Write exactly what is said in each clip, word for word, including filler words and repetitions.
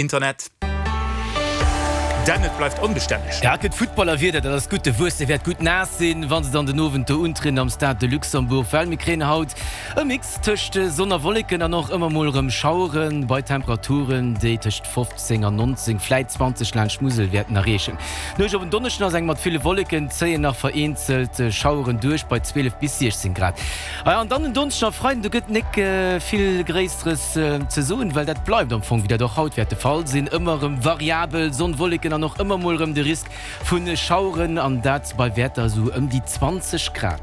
Internet. Denn et bleift onbestänneg. Ja, et gëtt Footballerwieder, dat ass gutt. De Wuesse wäert gutt naass sinn, wa se dann den Owend do untrieden am Stade de Luxembourg, well mir kréien haut e Mix tëscht Sonn a Wolleken an och ëmmer mol erëm Schaueren, bei Temperaturen, déi tëscht fofzéng an nonzéng, vläit zwanzeg laanscht d'Musel wäerten erreechen. D'Nuecht op en Donneschden ass eng mat ville Wolleken, zéien nach vereenzelt Schaueren duerch bei zwielef bis siechzéng Grad. Ah ja, an dann en Donneschden a Freiden, do gëtt nik vill Gréisseres ze soen, well dat bleift am Fong, wéi dat och haut wäert de Fall sinn, ëmmer erëm variabel, Sonn, Wolleken an och ëmmer mol erëm de Risk vu Schaueren, an dat bei Wäerter esou ëm déi zwanzeg Grad.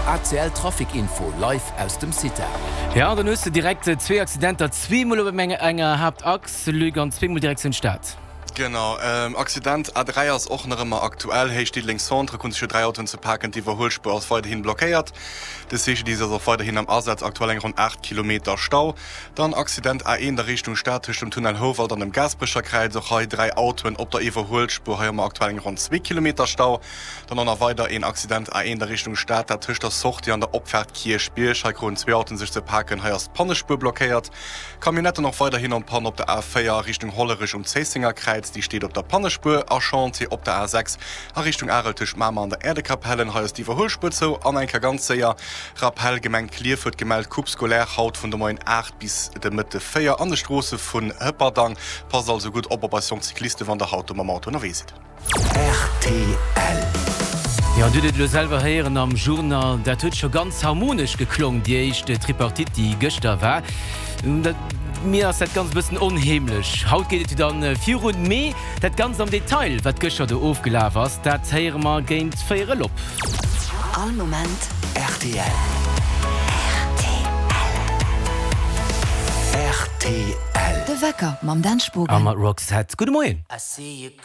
A C L Trafic Info live aus dem CITA. Ja, dann hues de direkt zwee Accidenter, zweemol op enger Haaptachs, Luc, an zweemol Direktioun Stad. Genau, Accident A dräi ass och nach ëmmer aktuell, Héicht Diddeleng Centre, kruten sech jo dräi Autoen ze paken, d'Iwwerhuelspuer ass weiderhin blockéiert. De C G D I S ass och weiderhin am Asaz, aktuell eng ronn aacht Kilometer Stau. Dann Accident A eent a Richtung Stad tëscht dem Tunnel Houwald an dem Gaasperecher Kräiz, och hei dräi Autoen op der Iwwerhuelspuer, hei hu mer aktuell eng ronn zwee Kilometer Stau. Dann och nach weider een Accident A eent a Richtung Stad, dat tëscht der Sortie an der Opfaart Kierchbierg, hei kruten zwee Autoen sech ze paken, hei ass d'Pannespuer blockéiert. Camionnetten och weiderhin en panne op der A véier a Richtung Hollerech um Zéissenger Kräiz, déi steet op der Pannespuer a Chantier op der A sechs a Richtung Arel tëscht Mamer an der Äerdekapellen, hei ass d'Iwwerhuelspuer zou. An eng Kéier ganz séier Rappel, Gemeng Klierf huet gemellt, Coupe scolaire haut vun de Moien aacht bis de Mëtte véier an de Stroosse vun Hëpperdang. Passt also gutt op op eis jonk Cyclisten, wann der haut do mam Auto ënnerwee sidd. Rtl. Jo, an Dir hutt et elo selwer héieren am Journal, dat huet scho ganz harmonesch geklong, déi éischt Tripartite, déi gëschter war. Dat, mir ass dat Ganzt e bëssen onheemlech. Haut geet et jo dann virun, mee dat Ganzt am Detail, wat gëschter do ofgelaf ass, dat héiere mer géint véierel op. All Moment rtl. Rtl. Rtl. De Wecker mam Dan A Spogen. mat Roxette. Gudde Moien.